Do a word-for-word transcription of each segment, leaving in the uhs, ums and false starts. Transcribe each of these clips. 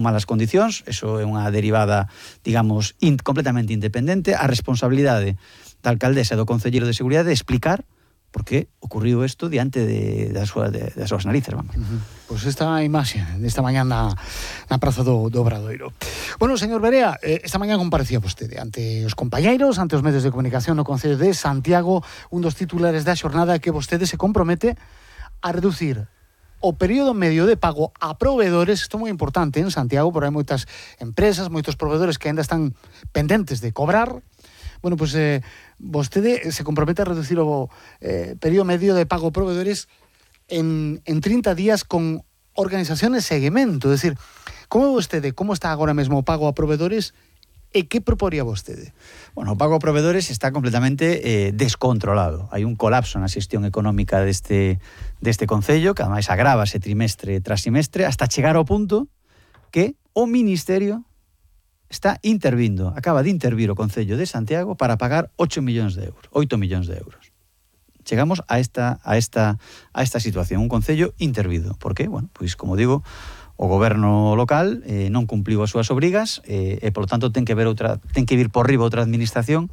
malas condicións, eso é unha derivada, digamos, in, completamente independente. A responsabilidade da alcaldesa e do concelleiro de Seguridade é explicar por que ocurriu isto diante de, das, súas, de, das súas narices, vamos. Uh-huh. Pois pues esta imaxe desta mañá na, na Praza do, do Obradoiro. Bueno, señor Berea, eh, esta mañá comparecía vostede ante os compañeiros, ante os medios de comunicación no Concello de Santiago. Un dos titulares da xornada que vostede se compromete a reducir o período medio de pago a proveedores. Isto é moi importante en Santiago, porque hai moitas empresas, moitos proveedores que ainda están pendentes de cobrar. Bueno, pois pues, eh, vostede se compromete a reducir o eh, período medio de pago a proveedores en, en trinta días con organizaciones de seguimento. É dicir, como vostede, como está agora mesmo o pago a proveedores e que proporía vostede? Bueno, o pago a proveedores está completamente eh, descontrolado. Hai un colapso na xestión económica deste, deste concello, que ademais agrávase trimestre tras trimestre, hasta chegar ao punto que o Ministerio está intervindo, acaba de intervir o Concello de Santiago para pagar ocho millóns de euros, oito millóns de euros. Chegamos a esta a esta a esta situación, un concello intervido. Por qué? Bueno, pois como digo, o goberno local eh, non cumpliu as súas obrigas eh, e polo tanto ten que ver outra, ten que vir por riba outra administración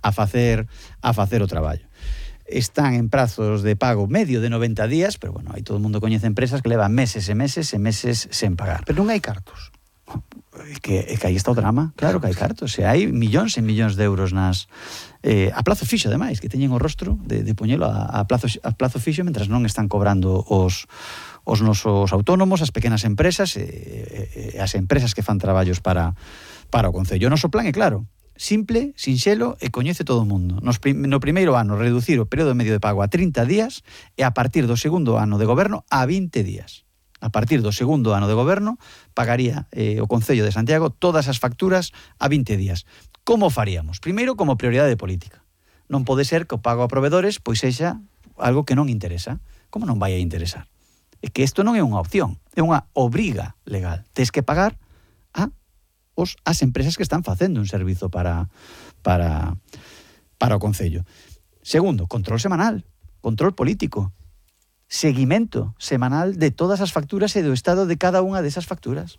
a facer a facer o traballo. Están en prazos de pago medio de noventa días, pero bueno, aí todo o mundo coñece empresas que levan meses e meses e meses sen pagar. Pero non hai cartos. É que, é que aí está o drama, claro que hai cartos, se hai millóns e millóns de euros nas eh, a plazo fixo, ademais, que teñen o rostro de, de poñelo a, a, plazo, a plazo fixo mentras non están cobrando os, os nosos autónomos, as pequenas empresas e, e, e as empresas que fan traballos para, para o Concello. O noso plan é claro, simple, sinxelo e coñece todo o mundo. Nos, no primeiro ano reducir o período medio de pago a trinta días e a partir do segundo ano de goberno a vinte días. A partir do segundo ano de goberno, pagaría eh, o Concello de Santiago todas as facturas a vinte días. Como faríamos? Primeiro, como prioridade política. Non pode ser que o pago a proveedores pois sexa algo que non interesa. Como non vai a interesar? É que isto non é unha opción, é unha obriga legal. Tes que pagar a os, as empresas que están facendo un servizo para, para, para o Concello. Segundo, control semanal, control político. Seguimento semanal de todas as facturas e do estado de cada unha desas facturas.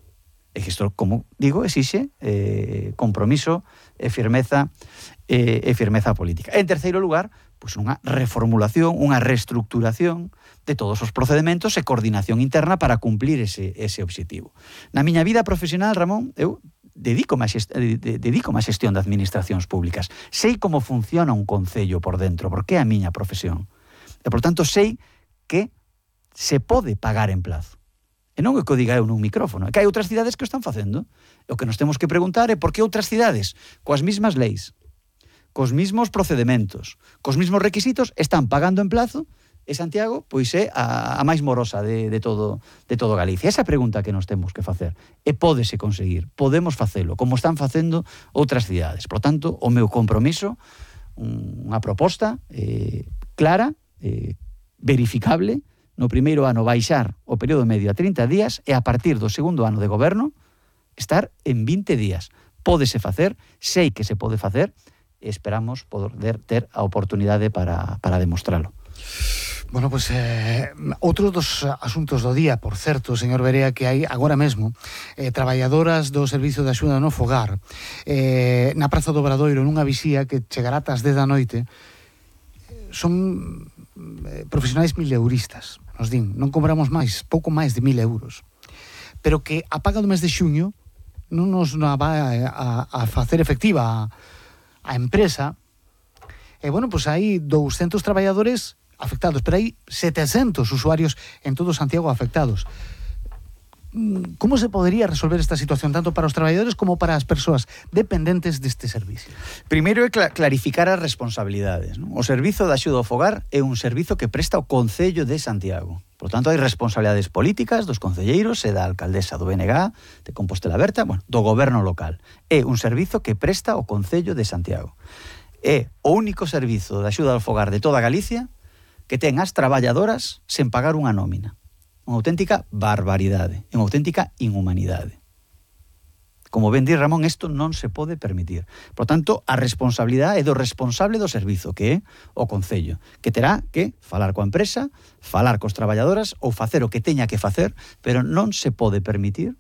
E que isto, como digo, exixe eh, compromiso e firmeza eh, e firmeza política. En terceiro lugar, pois unha reformulación, unha reestructuración de todos os procedementos e coordinación interna para cumplir ese, ese obxectivo. Na miña vida profesional, Ramón, eu dedícome a, xest- dedícome a xestión de administracións públicas. Sei como funciona un concello por dentro, porque é a miña profesión. E, por tanto, sei que se pode pagar en plazo. E non é que o diga eu nun micrófono, é que hai outras cidades que o están facendo. E o que nos temos que preguntar é por que outras cidades, coas mismas leis, cos mismos procedementos, cos mismos requisitos, están pagando en plazo, e Santiago, pois é a, a máis morosa de, de, todo, de todo Galicia. Esa pregunta que nos temos que facer. E pódese conseguir, podemos facelo, como están facendo outras cidades. Por tanto, o meu compromiso, unha proposta eh, clara, eh, verificable, no primeiro ano baixar o período medio a trinta días e a partir do segundo ano de goberno estar en vinte días. Pódese facer, sei que se pode facer e esperamos poder ter a oportunidade para, para demostralo. Bueno, pois pues, eh, outros dos asuntos do día, por certo, señor Berea, que hai agora mesmo eh, traballadoras do Servizo de Axuda no Fogar eh, na Praza do Obradoiro nunha visía que chegará ás dez da noite. Son eh, profesionais mileuristas, nos din, non cobramos máis, pouco máis de mil euros, pero que a paga do mes de xuño non nos na vai a, a, a facer efectiva a, a empresa. E, bueno, pois pues hai douscentos traballadores afectados, pero hai setecentos usuarios en todo Santiago afectados. Como se podería resolver esta situación tanto para os traballadores como para as persoas dependentes deste servicio? Primeiro é cl- clarificar as responsabilidades, non? O Servizo de Axuda ao Fogar é un servizo que presta o Concello de Santiago. Por tanto, hai responsabilidades políticas dos concelleiros e da alcaldesa do B N G de Compostela Berta, bueno, do goberno local. É un servizo que presta o Concello de Santiago. É o único servizo de axuda ao fogar de toda Galicia que ten as traballadoras sen pagar unha nómina. Unha auténtica barbaridade, unha auténtica inhumanidade. Como ben di Ramón, isto non se pode permitir. Por tanto, a responsabilidade é do responsable do servizo, que é o Concello, que terá que falar coa empresa, falar cos traballadoras ou facer o que teña que facer, pero non se pode permitir